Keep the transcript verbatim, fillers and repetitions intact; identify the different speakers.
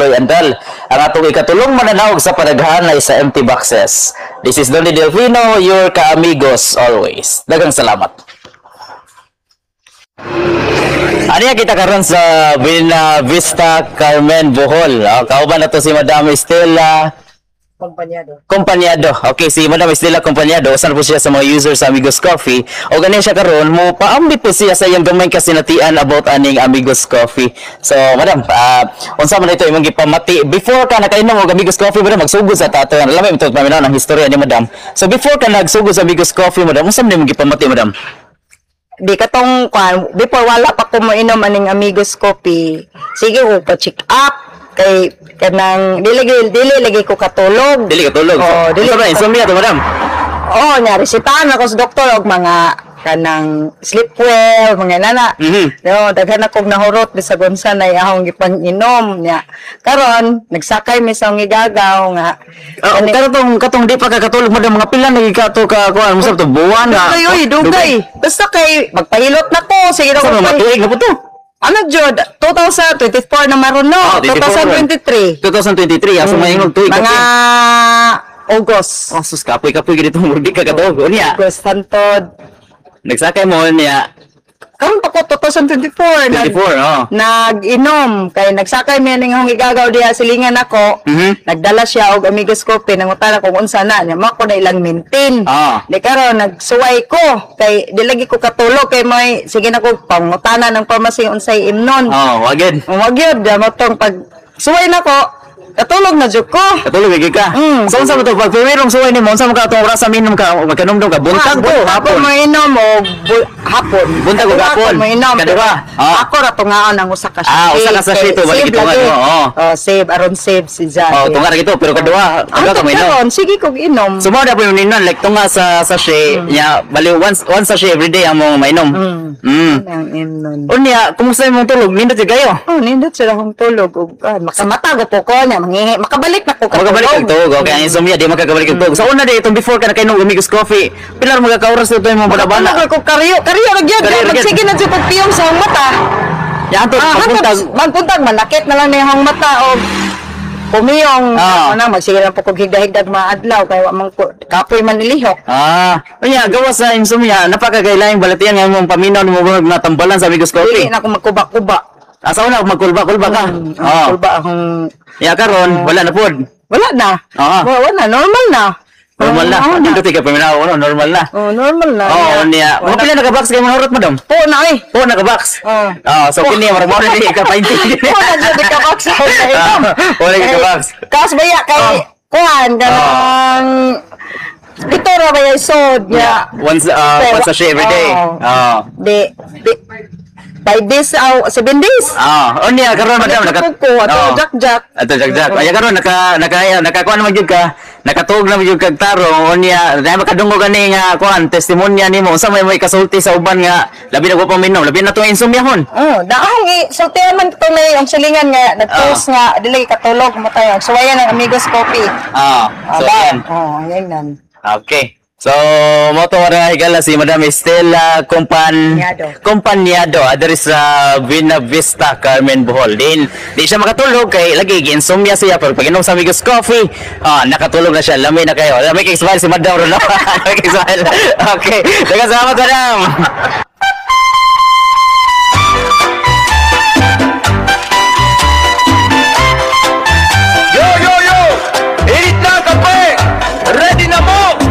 Speaker 1: Tuloy Andal. Ang atong ikatulong mananaog sa panaghanay sa empty boxes. This is Donny Delfino, your kaamigos always. Daghang salamat. Ano kita karon sa Villa Vista Carmen Bohol. Oh, kauban na to si Madam Estela
Speaker 2: Kompanyado.
Speaker 1: Kompanyado. Okay, si Madam Estela Kompanyado, usa po siya sa mga users sa Amigos Coffee. O ganin siya karon mo paambit po siya sa iyang gamay kasinatian about aning Amigos Coffee. So, Madam, uh, unsa man ito imong gipamati before ka nakainom og Amigos Coffee, Madam, magsugod sa tato. Alam mo ito paminaw ng historya ni Madam. So, before ka nagsugod sa Amigos Coffee, Madam, unsa man imong gipamati, Madam?
Speaker 2: Di katong kwan, before wala pa ko moinom aning Amigos Coffee. Sige ko pa check up kay kanang dili dili, dili lagi ko katulog.
Speaker 1: Dili ka tulog.
Speaker 2: Oh, dili
Speaker 1: Unsa ba insomnia to, Madam?
Speaker 2: Oh, nya resetahan ako sa doktor og mga kanang sleep well, mga nana.
Speaker 1: Mhm.
Speaker 2: No, daghan akong nahurot bisag unsa na akong gipang-inom nya. Karon nagsakay mi sa igagaw nga
Speaker 1: Oh,
Speaker 2: kani-
Speaker 1: katong katong di pa ka katulog, Madam, mga pila nagi ka to ka kuan mo sa to buwan na.
Speaker 2: Dugay, oy, dugay. Basta kay magpahilot na ko. Sige na
Speaker 1: Sa
Speaker 2: ko.
Speaker 1: mga tuig na po to.
Speaker 2: Ano jud? twenty twenty-four na maron no.
Speaker 1: Oh, twenty-four.
Speaker 2: twenty twenty-three.
Speaker 1: twenty twenty-three, asa mm. maingog tuig.
Speaker 2: Mga August.
Speaker 1: Oh, sus, kapoy kapoy gid mo di ka katulog. Unya,
Speaker 2: August hantod.
Speaker 1: Nagsakay mo niya.
Speaker 2: Karon pa ko twenty twenty-four. Nag,
Speaker 1: twenty-four, oh.
Speaker 2: Nag-inom kay nagsakay mi ning akong igagaw diha silingan ako.
Speaker 1: Mhm.
Speaker 2: Nagdala siya og Amigos Coffee, nangutana kung unsa na niya. Mao ko na ilang maintain.
Speaker 1: Ah.
Speaker 2: Di karon nagsuway ko kay di lagi ko katulog kay may sige na ko pangutana ng pharmacy unsay imnon.
Speaker 1: Oh, wagid.
Speaker 2: Wag yun, di mo tong pag suway na ko, katulog na jud ko.
Speaker 1: Katulog gid ka.
Speaker 2: Mm.
Speaker 1: So unsa mo to pag primerong suway nimo, unsa mo ka atong oras sa minom ka, magkanomdom ka buntag to
Speaker 2: Buntag
Speaker 1: hapon?
Speaker 2: ko mainom o bu- hapon.
Speaker 1: Buntag o
Speaker 2: Kaduha
Speaker 1: hapon?
Speaker 2: ko mainom.
Speaker 1: Kaduha? Ah.
Speaker 2: Ako ra tungaon ang usa ka
Speaker 1: Ah, usa ka sachet to, balik
Speaker 2: Save
Speaker 1: itungan
Speaker 2: lagi.
Speaker 1: mo, oh.
Speaker 2: Oh, save aron save si Jade.
Speaker 1: Oh, tunga ra gito pero kaduha, kaduha ka
Speaker 2: Ang
Speaker 1: mainom.
Speaker 2: karon sige kog inom.
Speaker 1: So mo na po yung ninon like tunga sa sachet nya bali once one sachet every day ang mong mainom.
Speaker 2: Mm.
Speaker 1: Mm.
Speaker 2: Ang imnon.
Speaker 1: Unya, kumusta imong tulog? Nindot jud kayo?
Speaker 2: Oh, nindot sila akong tulog. Ug ah, makamata go po ko niya, mangihi, makabalik na ko
Speaker 1: Makabalik
Speaker 2: katulog.
Speaker 1: kag tulog. Okay, ang insomnia di makakabalik kag tulog. Sa una di itong before ka nakainom og Amigos Coffee, pila ra mga ka oras ito imong banabana?
Speaker 2: Matulog ko karyo, karyo ra gyud.
Speaker 1: Karyo ra gyud.
Speaker 2: Magsige na jud pagpiyong sa akong mata.
Speaker 1: Ya anto
Speaker 2: Ah,
Speaker 1: pagbuntag.
Speaker 2: hantod, magbuntag manakit na lang ni akong mata og pumiyong.
Speaker 1: Ah.
Speaker 2: Ano magsige lang po kog higda-higdag maadlaw kay wa man ko kapoy man ilihok.
Speaker 1: Ah, unya gawas sa insomnia, napakagailaing balatian nga imong paminaw nimo nga natambalan sa Amigos
Speaker 2: Dili
Speaker 1: Coffee.
Speaker 2: na ako magkuba-kuba.
Speaker 1: Asa una magkulba-kulba ka?
Speaker 2: Mm,
Speaker 1: Oh.
Speaker 2: Kulba akong
Speaker 1: Ya karon wala na pod.
Speaker 2: Wala na.
Speaker 1: Ah.
Speaker 2: Wala, wala normal na.
Speaker 1: Normal na.
Speaker 2: Oo,
Speaker 1: Nindot ka paminaw no, normal na.
Speaker 2: Oh, normal na.
Speaker 1: Oh, unya. Mga
Speaker 2: Wala.
Speaker 1: pila naka box kay mga hurot, Madam?
Speaker 2: Po na eh.
Speaker 1: Po naka box.
Speaker 2: Oh.
Speaker 1: Oh, so kini murag mo na ka painting.
Speaker 2: Po na jud ka box sa inom.
Speaker 1: Ah, wala ka box.
Speaker 2: Kas baya kay
Speaker 1: Oh.
Speaker 2: kuan kanang ito ra ba yung sod niya.
Speaker 1: Once uh, once sachet every day.
Speaker 2: Oh.
Speaker 1: Oh.
Speaker 2: Di, di five days aw seven days.
Speaker 1: Ah, unya karon, Madam, naka
Speaker 2: ko ato
Speaker 1: Oh.
Speaker 2: jak jak.
Speaker 1: Ato jak jak. Ay karon naka naka nakakuan naman gyud ka. Nakatuog na gyud kag tarong unya dahil makadungog gani nga kuan testimonya nimo unsa may may kasulti sa uban nga labi na ko paminom, labi na tong insomnia-hon?
Speaker 2: Oh, daong i sultihan man to may ang silingan nga nagpost nga dili katulog mo tayo. Suwayan ang Amigos Coffee.
Speaker 1: Ah, so
Speaker 2: Ah, ba?
Speaker 1: yan.
Speaker 2: Oh, yan nan.
Speaker 1: Okay. So, mo to ra higala si Madam Estela Compan
Speaker 2: Kompanyado.
Speaker 1: Kompanyado adiri sa Vina Vista Carmen Bohol. Din di siya makatulog kay lagi gi-insomnia siya pero pag inom sa Amigos Coffee, ah, nakatulog na siya. Lami na kayo. Lami kay smile si Madam ro no. Lami kay smile. Okay. Daghang salamat, Madam.